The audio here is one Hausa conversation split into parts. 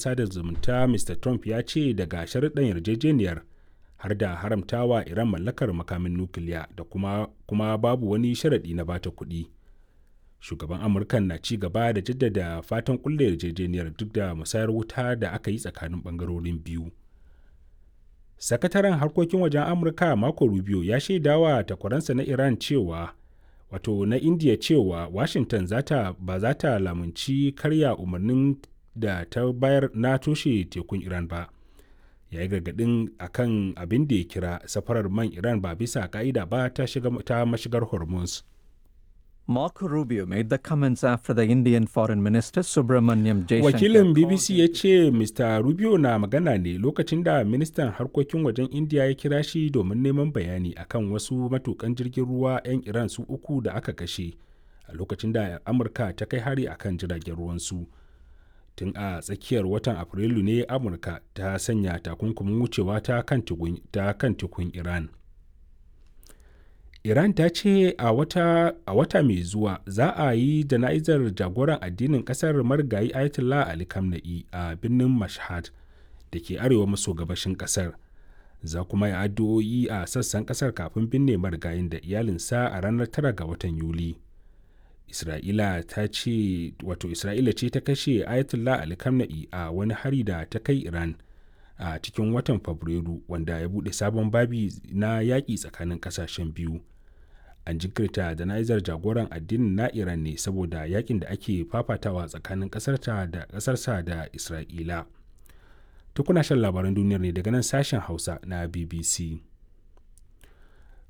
sada zumunta, Mr. Trump ya ce daga sharuɗan yarjejeniyar har da haramtawa Iran mallakar makamin nukiliya da kuma babu wani sharaɗi na bata kuɗi. Shugaban Amurkan na ci gaba da jaddada fatan kulle yarjejeniyar duk da musayar wuta da aka yi tsakanin bangarorin biyu. Sakataren harkokin wajen Amurka Marco Rubio ya shaidawa takwaransa na Iran cewa wato na India cewa Washington zata ba za ta lamunci karya umarnin da ta bayar na toshe tekun Iran ba. Ya yi gargaɗin a kan abin da ya kira safarar man Iran ba bisa ka'ida ba ta ta mashigar Hormuz. Marco Rubio made the comments after the Indian Foreign Minister Subramanyam Jaishankar. Wakilin BBC ya ce Mr. Rubio na magana ne lokacin da ministan harkokin wajen India ya kira shi domin neman bayani akan wasu matukan jirgin ruwa 'yan Iran su uku da aka kashe a lokacin da Amurka ta kai hari akan jiragen ruwansu. Tun a tsakiyar watan Afrilu ne Amurka ta sanya takunkumin wucewa ta kan tekun Iran. Iran ta ce a wata mai zuwa za a yi jana'izar jagoran addinin kasar marigayi Ayatollah Ali Khamenei a birnin Mashhad da ke arewa maso gabashin kasar. Za kuma yi addu'o'i a sassan kasar kafin binne marigayin da iyalinsa a ranar 9 ga watan Yuli. Isra'ila ta ce wato Isra'ila ce ta kashe Ayatollah Ali Khamenei a wani hari da ta kai Iran a cikin watan Fabrairu, wanda ya buɗe sabon babi na yaƙi tsakanin ƙasashen biyu. An jinkirta jana'izar jagoran addinin na Iran ne saboda yakin da ake fafatawa tsakanin ƙasarta da ƙasarsa da Isra'ila. Tukuna shan labaran duniyar ne daga nan sashen Hausa na BBC.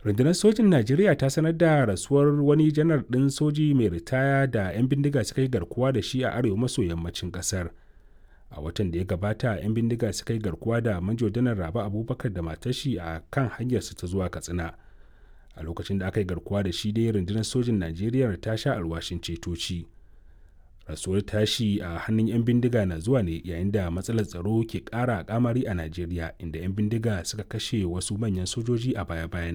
Rundunar sojin Najeriya ta sanar da rasuwar wani janar ɗin soji mai ritaya da 'yan bindiga suka yi garkuwa da shi a arewa maso yammacin ƙasar. A watan da ya gabata 'yan bindiga suka yi garkuwa da manjo janar Rabe Abubakar da matashi a kan hanyarsu ta zuwa Katsina. A lokacin da aka yi garkuwa da shi dai, rundunar sojin Najeriya ta sha alwashin cetoci. Rasuwar tashi a hannun 'yan bindiga na zuwa ne yayin da matsalar tsaro ke ƙara kamari a Najeriya, inda 'yan bindiga suka kashe wasu manyan sojoji a baya-bayan